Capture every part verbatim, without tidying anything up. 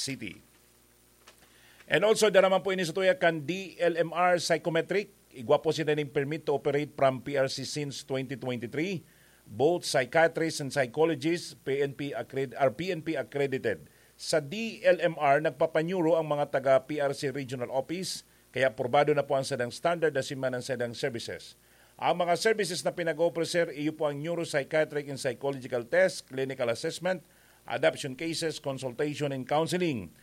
City. And also, dara man po ini sa tuya kan D L M R Psychometric. Igwa po sila ning permit to operate from P R C since twenty twenty-three. Both psychiatrists and psychologists, P N P accred-, are P N P accredited. Sa D L M R, nagpapanyuro ang mga taga P R C Regional Office, kaya aprobado na po ang sadang standard asin man ang sadang services. Ang mga services na pinag-offer, sir, iyo po ang neuropsychiatric and psychological test, clinical assessment, adoption cases, consultation, and counseling.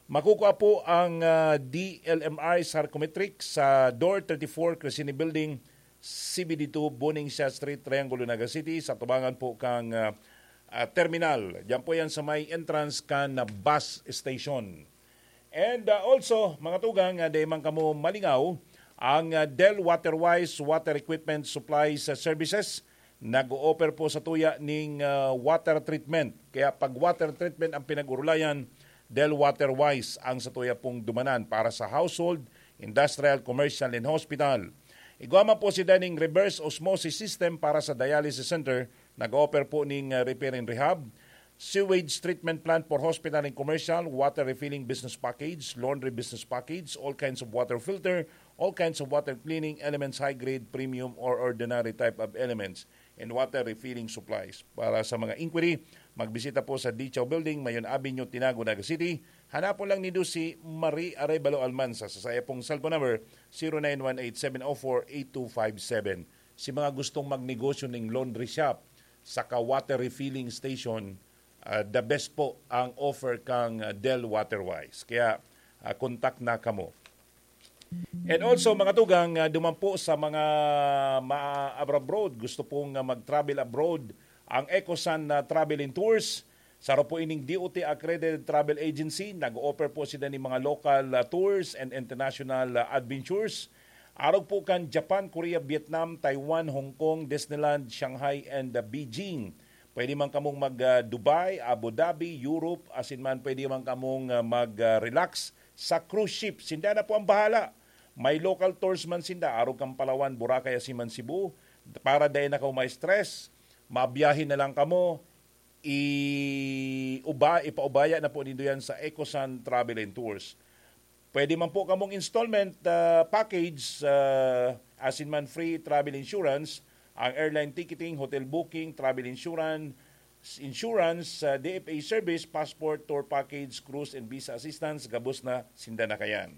Makukuha po ang, ah, D L M R Psychometric sa Door thirty-four, Crescini Building, C B D two, Buning Siya Street, Triangulo, Naga City. Sa tubangan po kang, ah, ah, terminal. Diyan po yan sa may entrance kan bus station. And, ah, also, mga tugang, ah, dai man kamo malingaw, ang, ah, Del Waterwise Water Equipment Supplies, ah, Services nag-o-offer po sa tuya ning, ah, water treatment. Kaya pag water treatment ang pinag-urulayan, Del Waterwise ang sa tuya pong dumanan para sa household, industrial, commercial, and hospital. Igwa man po si daning reverse osmosis system para sa dialysis center, nag-o-offer po ning, ah, repair and rehab, sewage treatment plant for hospital and commercial, water refilling business package, laundry business package, all kinds of water filter, all kinds of water cleaning elements, high grade, premium, or ordinary type of elements, and water refilling supplies. Para sa mga inquiry, magbisita po sa Dichaw Building, Mayon Avenue, Tinago, Naga City. Hanapon lang nindo si Marie Arevalo Almanza sa saya pong cellphone number, zero nine one eight seven oh four eight two five seven. Si mga gustong magnegosyo ning laundry shop, saka water refilling station, ah, the best po ang offer kang, ah, Del Waterwise. Kaya, ah, contact na kamo. And also, mga tugang, ah, duman po sa mga ma-abroad, gusto pong, ah, mag-travel abroad, ang Ecosan na Travel and Tours, saro po ining D O T accredited travel agency, nag-o-offer po sila ni mga local, ah, tours and international, ah, adventures. Arog po kan Japan, Korea, Vietnam, Taiwan, Hong Kong, Disneyland, Shanghai, and, ah, Beijing. Pwede man kamong mag, ah, Dubai, Abu Dhabi, Europe, asin man pwede man kamong, ah, mag, ah, relax sa cruise ship. Sinda na po ang bahala. May local tours man sinda, arog kan Palawan, Boracay, asin man Cebu. Para dai na kamo ma-stress, mabiyahe na lang kamo, i-uba-, ipaubaya na po nindo yan sa Ecosan Travel and Tours. Pwede man po kamong installment, ah, package, ah, asin man free travel insurance, ang airline ticketing, hotel booking, travel insurance, insurance, ah, D F A service, passport, tour package, cruise and visa assistance, gabos na sinda na kayan.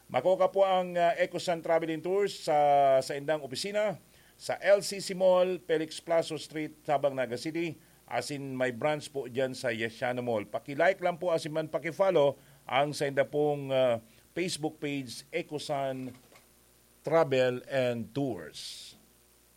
Makuha po ang, ah, Ecosan Travel and Tours sa saindang opisina, sa L C C Mall, Felix Plazo Street, Sabang, Naga City, asin may branch po dyan sa Yesiano Mall. Paki-like lang po asin man paki-follow ang sainda pong, ah, Facebook page, Ecosan Travel and Tours.